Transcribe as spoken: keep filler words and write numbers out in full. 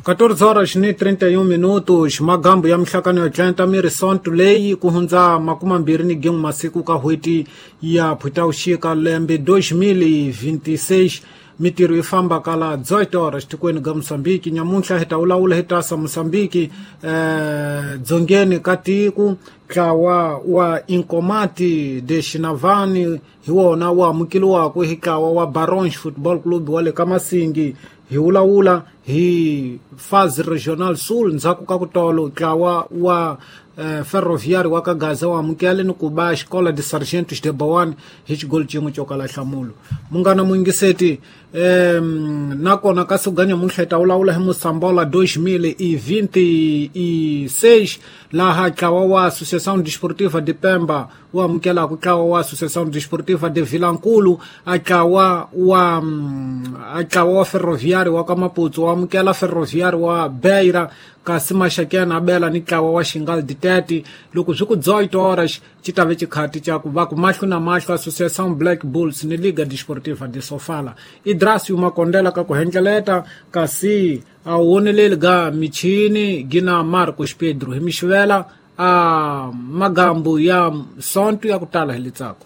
catorze horas ni trinta e um minutos, magambo ya mihlakano ya tlanta miri sonto leyi ku hundza makumi mambirhi ni gin'we masiku ka n'hweti ya Phutawuxika lembe dois mil e vinte e seis. Mitirho yi famba kala dezoito horas tikweni ga Mozambique. Nyamuntlha hi ta vulavula hi tasa Mozambique eh, dzongeni ka tiko ntlawa wa Inkomati de Xinavani hi wona wu amukeliwaka hi ntlawa wa Barons Football Club wa le ka Masingi. Hi vulavula hi Fase Regional Sul ndzhaku ka ku tolo ntlawa wa eh, Ferroviário wa ka Gaza wa amukele ni ku ba Escola de Sargentos de Boane hi xigolo xin'we xo kala nhlamulo. Munghana muyingiseti eh, nakona ka siku ga nyamuntlha hi ta vulavula hi Mosambola dois mil e vinte e seis laha ntlawa wa Associação Desportiva de Pemba wu amukelaka ntlawa wa Associação Desportiva de Vilankulu, a ntlawa wa a ntlawa wa Ferroviário wa ka Maputo wu amukela Ferroviário wa Beira, kasi Maxakena a bela ni ntlawa wa Xingal de Tete. Loko swi ku dezoito horas xi ta ve xikhati xa ku va ku mahlo na mahlo Associação Black Bulls ni Liga Desportiva de Sofala. Idrasio Makondela ka ku hendleleta kasi a woneleli ga michini gina Marcos Pedro hi mixivela a magambo ya sonto ya ku tala hi litsako.